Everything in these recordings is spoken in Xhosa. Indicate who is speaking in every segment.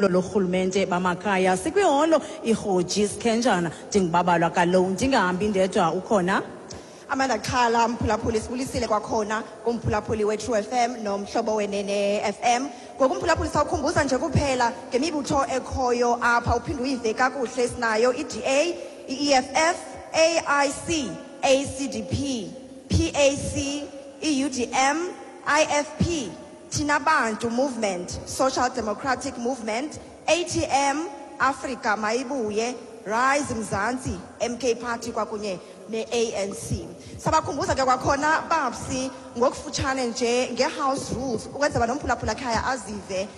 Speaker 1: Lorhulumente bamakhaya sikwiholo iRhoji Sikhenjana. Ndingubabalwa kaloku, ndingahambi ndedwa, ukhona
Speaker 2: Amanda Xhala. Mphulaphuli, sibulisile kwakhona kumphulaphuli we-True FM nomhlobo Wenene FM. Ngoku, mphulaphuli, sawukhumbuza nje kuphela ngemibutho ekhoyo apha, uphinde uyive kakuhle. Sinayo i-DA, i-EFF, AIC, ACDP, PAC, i-UDM, IFP, Thina Bantu Movement, Social Democratic Movement, ATM, Africa Mayibuye, Rise Mzansi, MK Party kwakunye ne-ANC. Sabakhumbuza ke kwakhona, babsi, ngokufutshane nje nge-house rules ukwenzela nomphulaphula khaya azive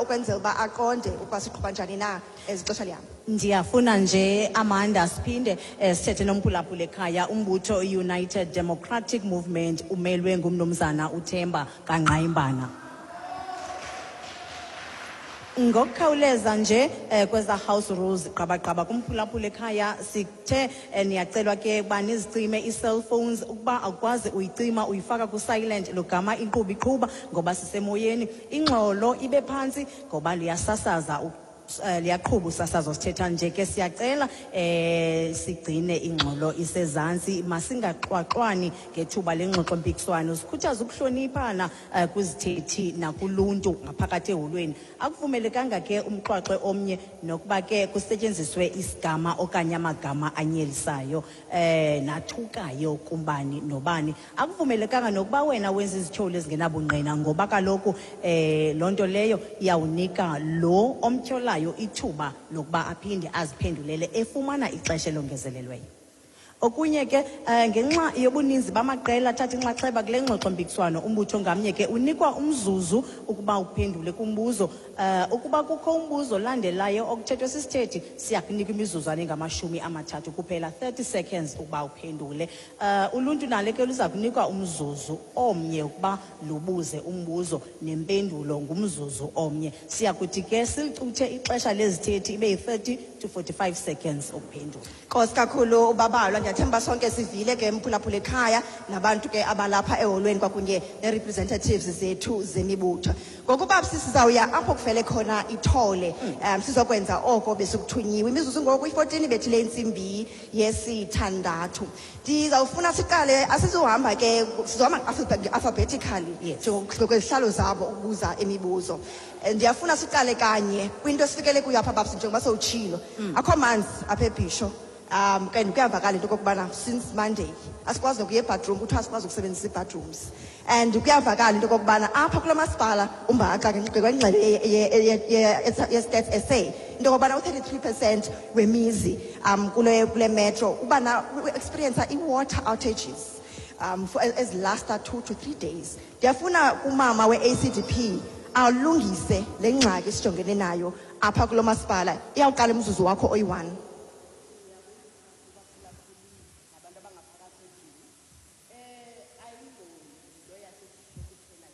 Speaker 2: ukwenzela uba aqonde ukuba siqhuba njani na ezixesha lihamba.
Speaker 1: Ndiyafuna nje, Amanda, siphinde sithethe nomphulaphula ekhaya. Umbutho United Democratic Movement umelwe ngumnumzana uThemba Kangqayimbana. Ngokukhawuleza nje kweza house rules, qabaqaba kumphulaphula ekhaya, sithe niyacelwa ke uba nizicime ii-cellphones. Ukuba awukwazi uyicima, uyifaka ku-silent logama inkqubo iqhuba, ngoba sisemoyeni. Ingxolo ibe phantsi ngoba liyasasaza liyaqhuba usasazo sithetha nje ke. Siyacela sigcine ingxolo isezantsi, masingaxwaxwani ngethuba lengxoxo mpikiswano. Sikhuthaza ukuhloniphana kwizithethi nakuluntu ngaphakathi eholweni. Akuvumelekanga ke umxwaxe omnye nokuba ke kusetyenziswe isigama okanye amagama anyelisayo nathukayo kumbani nobani. Akuvumelekanga nokuba wena wenza izityholo ezingenabungqina, ngoba kaloku loo nto leyo iyawunika lo omtyholayo ithuba lokuba aphinde aziphendulele efumana ixesha elongezelelweyo. Okunye ke, ngenxa yobuninzi bamaqela athatha inxaxheba kule ngxoxo-mpikiswano, umbutho ngamnye ke unikwa umzuzu ukuba uphendule kumbuzo. Ukuba kukho umbuzo olandelayo okuthethwe sisithethi, siyakunika imizuzwana engama-30 kuphela, 30 seconds, ukuba uphendule. Uluntu nalo ke luza kunikwa umzuzu omnye ukuba lubuze umbuzo, nempendulo ngumzuzu omnye. Siyakuthi ke silicuthe ixesha lezithethi ibe yi-30 to 45 seconds ukuphendula.
Speaker 2: Nkosi kakhulu, ubabalwa. Ndiyathemba sonke sivile ke, mphulaphula ekhaya nabantu ke abalapha eholweni kwakunye nee-representatives zethu zemibutho. Ngokuba sizawuya apho kufele khona ithole, sizokwenza oko besikuthunyiwe. Imizuzu ngoku i-14 ibethile intsimbi yesithandathu. Ndizawufuna siqale, asizuhamba ke, sizohamba alphabetically njengokwezihlalo zabo ukubuza imibuzo. Ndiyafuna siqale kanye kwinto esifikele kuyo apha, babsi, njengoba sowutshilo, akho manzi apha eBhisho. And kuyavakala into okokubana since Monday asikwazi nokuya ebathroom, kuthiwa asikwazi ukusebenzisa ii-bathrooms. And kuyavakala into okokubana apha kulo masipala umbaxa ngokwengxelo ye-Stats SA into okokubana u-33% wemizi kule metro uba na experience i-water outages for ezilasta 2 to 3 days. Ndiyafuna kumama we-ACDP alungise le ngxaki sijongene nayo apha kulo masipala. Iyawuqala umzuzu wakho oyi-1.
Speaker 3: Nabantu abangaphakathi endlini ayiyonto yaseBhisho kuphela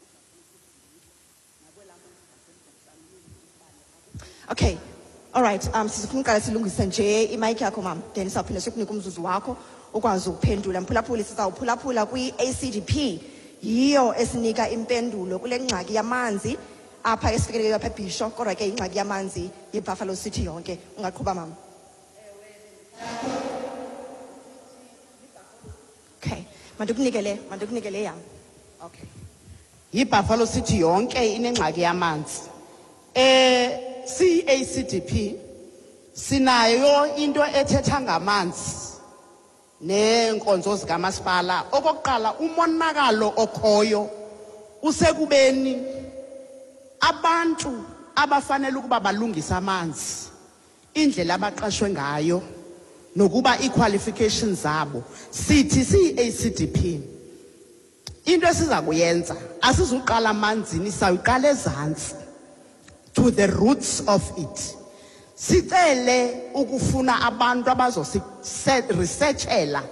Speaker 3: nakwelaa muzi zasemgomsanweni umbane.
Speaker 2: Okay, all right. Sizofuna uqala silungise nje imayikhi yakho, mama, then sawuphinda sikunika umzuzu wakho ukwazi ukuphendula. Mphulaphuli, sizawuphulaphula kwi-ACDP, yiyo esinika impendulo kule ngxaki yamanzi apha esifikeleleyo apha eBhisho, kodwa ke ingxaki yamanzi yeBuffalo City yonke. Ungaqhuba, mama. Okay, mandikunike le yam.
Speaker 3: Okay, yiBuffalo City yonke inengxaki yamanzi. Siyi-ACDP sinayo into ethetha ngamanzi neenkonzo zikamasipala. Okokuqala, umonakalo okhoyo usekubeni abantu abafanele ukuba balungise amanzi, indlela abaqashwe ngayo nokuba ii-qualifications zabo. Sithi siyi-ACDP into esiza kuyenza, asizuqala amanzini, sawuqala ezantsi, to the roots of it. Sicele ukufuna abantu abazosi-researchela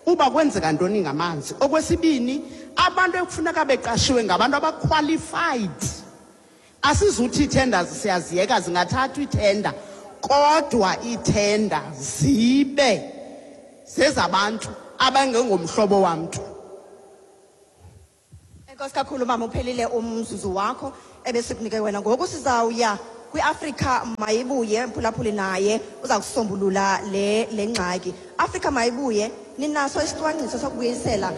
Speaker 3: uba kwenzeka ntoni ngamanzi. Okwesibini, abantu ekufuneka beqashiwe ngabantu abaqualified. Asizuthi ii-tenders siyaziyeka, zingathathwa iithenda, kodwa iithenda zibe zezabantu abangengomhlobo wamntu.
Speaker 2: Enkosi kakhulu, mama. Uphelile umzuzu wakho ebesikunike wena. Ngoku sizawuya kwiAfrika Mayibuye, mphulaphuli, naye uza kusombulula le ngxaki. Afrika Mayibuye, ninaso isicwangciso sokubuyisela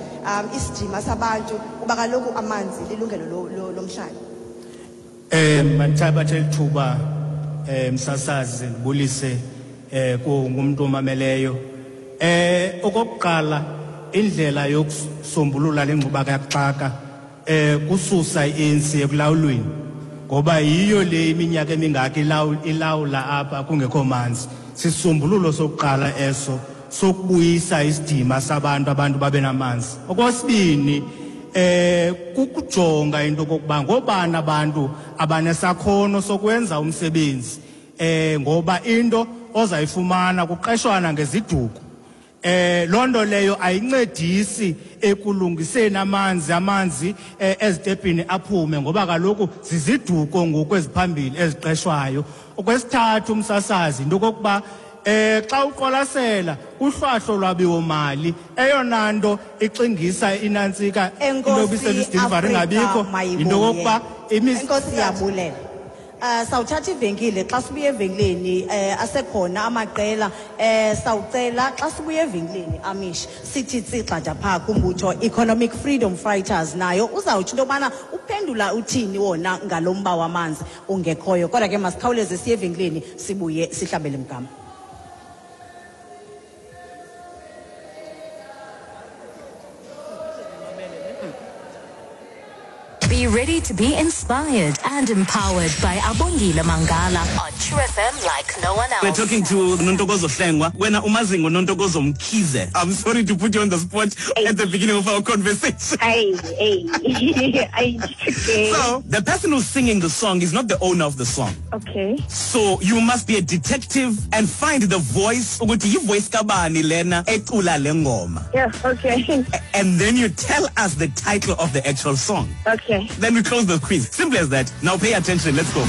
Speaker 2: isidima sabantu, kuba kaloku amanzi lilungelo lomhlali?
Speaker 4: Mandithabathe lithuba, msasazi, ndibulise kungumuntu omameleyo. Okokuqala, indlela yokusombulula le ngxubakaxaka kususa i-ANC ekulawulweni, ngoba yiyo le iminyaka emingaka ilawula apha kungekho manzi. Sisombululo sokuqala eso sokubuyisa isidima sabantu, abantu babe namanzi. Okwesibini, kukujonga into kokuba ngobani abantu abanesakhono sokwenza umsebenzi, ngoba into ozayifumana kuqeshwana ngeziduko. Loo nto leyo ayincedisi ekulungiseni amanzi ezitepini aphume, ngoba kaloku ziziduko ngoku eziphambili eziqeshwayo. Okwesithathu, umsasazi, into okokuba xa uqwalasela uhlwahlo lwabiwo mali, eyona nto ixingisa inantsika into yoba
Speaker 1: Enkosi,
Speaker 4: i-service delivery
Speaker 1: Afrika
Speaker 4: ingabikho, yinto okokuba
Speaker 1: Mayibuye. Enkosi, siyabulela. Sawuthatha ivenkile xa sibuya evenkileni, asekhona amaqela. Sawucela xa sibuya evenkileni, Amish, sithi tsigxada phaa kumbutho Economic Freedom Fighters, nayo uzawutsho into yobana uphendula uthini wona ngalo mba wamanzi ungekhoyo. Kodwa ke masikhawuleze siye evenkileni, sibuye sihlabele mgama.
Speaker 5: Be ready to be inspired and empowered by Abongile Mangala on True FM like no one else.
Speaker 6: We're talking to Nontokozo Hlengwa. Wena umazi ngoNontokozo Mkhize. I'm sorry to put you on the spot at the beginning of our conversation.
Speaker 7: Hey, hey. I, okay.
Speaker 6: So, the person who's singing the song is not the owner of the song.
Speaker 7: Okay.
Speaker 6: So, you must be a detective and find the voice, ukuthi yi-voice kabani lena ecula le ngoma.
Speaker 7: Yeah, okay.
Speaker 6: And then you tell us the title of the actual song.
Speaker 7: Okay.
Speaker 6: Then we close the quiz. Simple as that. Now pay attention. Let's go.